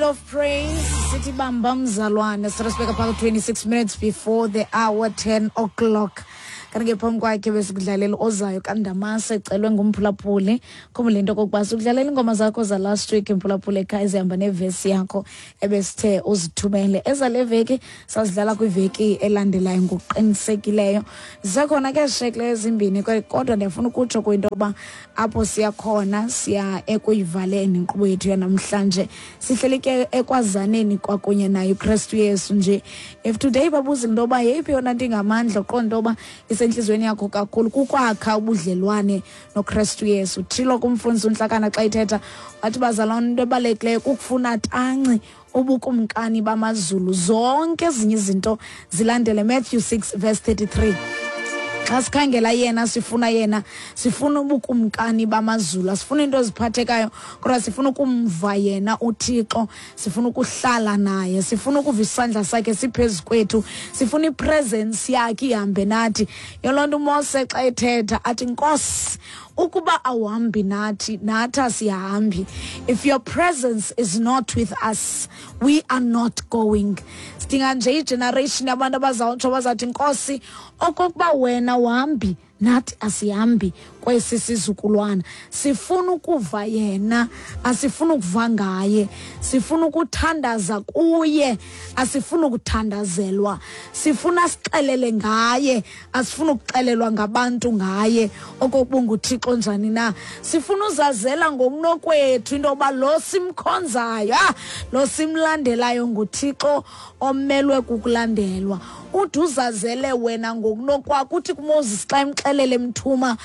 Of praise sithi bamba mzalwane sirasibeka phaka 26 minutes before the hour 10 o'clock. Kanti ke phambi kwakhe besikudlalela ozayo kaNdamase, ecelwe ngumphulaphuli. Khumbula into okokuba sikudlalela iingoma zakho za last week, mphulaphuli ekhaya, ezihamba nevesi yakho ebesithe uzithumele. Ezale veki sazidlala kwiveki elandelayo ngokuqinisekileyo. Zisekhona ke shekle ezimbini, kodwa ndiyafuna ukutsho kwinto yokuba apho siya khona, siya ekuyivaleni inkqubo yethu yanamhlanje. Sihleli ke ekwazaneni kwakunye naye uKristu Yesu nje. If today babuza into yoba yeyiphi yona nto ingamandla uqonda into yoba isentliziyweni yakho kakhulu, kukwakha ubudlelwane noKristu Yesu. Thilo kumfundisi uNtlakana xa ithetha wathi, bazalwane, into ebalulekileyo kukufuna tanci ubukumkani bamazulu, zonke ezinye izinto zilandele. Matthew 6 verse 33. Xa sikhangela yena, sifuna yena, sifuna ubukumkani bamazulu, asifuna into eziphathekayo, kodwa sifuna ukumva yena uThixo, sifuna ukuhlala naye, sifuna ukuva isandla sakhe siphezu kwethu, sifuna ipresence yakhe ihambe nathi. Yoloo nto uMose xa ethetha athi, Nkosi, ukuba awuhambi nathi, nathi asihambi. If your presence is not with us, we are not going. Sidinga nje igeneration yabantu abazawutsho, bazawuthi, Nkosi, okokuba wena uhambi nathi, asihambi kwesi sizukulwana. Sifuna ukuva yena, asifuna ukuva ngaye. Sifuna ukuthandaza kuye, asifuna ukuthandazelwa. Sifuna sixelele ngaye, asifuna ukuxelelwa ngabantu ngaye okokuba unguThixo njani na. Sifuna uzazela ngokunokwethu into yoba lo simkhonzayo, lo simlandelayo nguThixo omelwe kukulandelwa. Ude uzazele wena ngokunokwakho. Uthi kuMoses xa emxelele, emthuma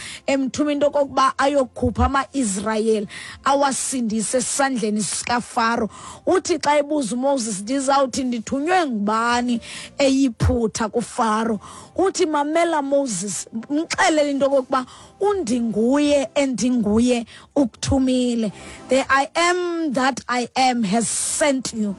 into okokuba ayokhupha ama-Israyeli, awasindise esandleni sikaFaro, uthi xa ebuza uMoses, ndizawuthi ndithunywe ngubani eYiphutha kuFaro? Uthi, mamela Moses, mxelele into okokuba undinguye endinguye ukuthumile. The I am that I am has sent you.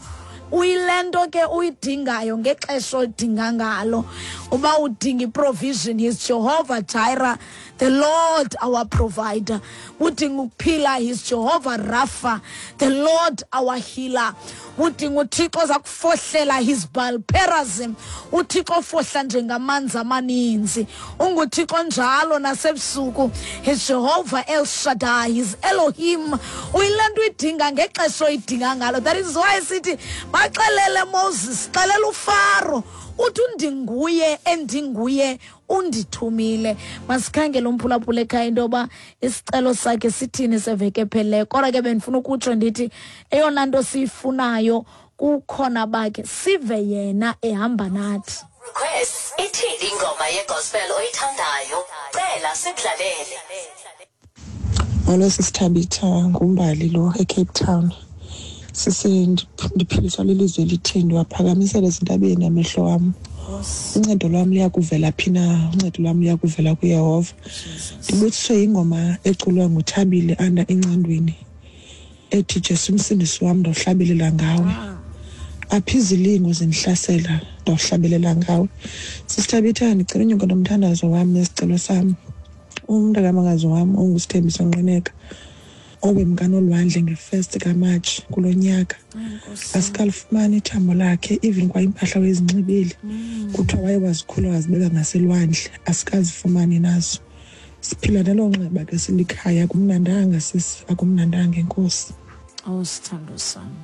Uyile nto ke uyidingayo ngexesha olidinga ngalo. Uba udinga iprovision, he's Jehovah Jireh, the Lord our provider. Udinga ukuphila, he's Jehovah Rapha, the Lord our healer. Udinga uThixo oza kufohlela, he's Baal Perazim, uThixo ofohla njengamanzi amaninzi, unguThixo njalo nasebusuku. He's Jehovah El Shaddai, he's Elohim. Uyile nto uyidinga ngexesha oyidinga ngalo. That is why sithi, baxelele Moses, xelela uFaro uthi undinguye endinguye undithumile. Masikhangele umphulaphula ekhaya into yoba isicelo sakhe sithini seveki ephelileyo. Kodwa ke bendifuna ukutsho ndithi eyona nto siyifunayo kukhona bakhe, sive yena ehamba nathi. Requests, ithini ingoma yegospel oyithandayo? Cela sikudlalele. Molo sisiThabitha, nguMbali lo eCape Town. Sisi, ndiphiliswa lilizwi elithi, ndiwaphakamisele ezintabeni amehlo wam. Uncedo lwam luya kuvela phi na? Uncedo lwam luya kuvela kuYehova. Ndibuthiswe yingoma eculwa nguThabile Anda Incandweni ethi Jesu Msindisi wam, ndawuhlabelela ngawe. Apha izilingo zindihlasela, ndawuhlabelela ngawe. SisiThabitha, ndicela unyuka nomthandazo wam nesicelo sam. Umntakamakazi wam onguSithembiso Nqineka owemka nolwandle nge-1 kaMatshi kulo nyaka, asikalifumani ithambo lakhe, even kwa impahla wayezinxibile. Kuthiwa waye wazikhula wazibeka ngaselwandle, asikazifumani nazo. Siphila nelo nxeba ke silikhaya. Akumnandanga sisi, akumnandanga. Enkosi. Oh, sithando sami.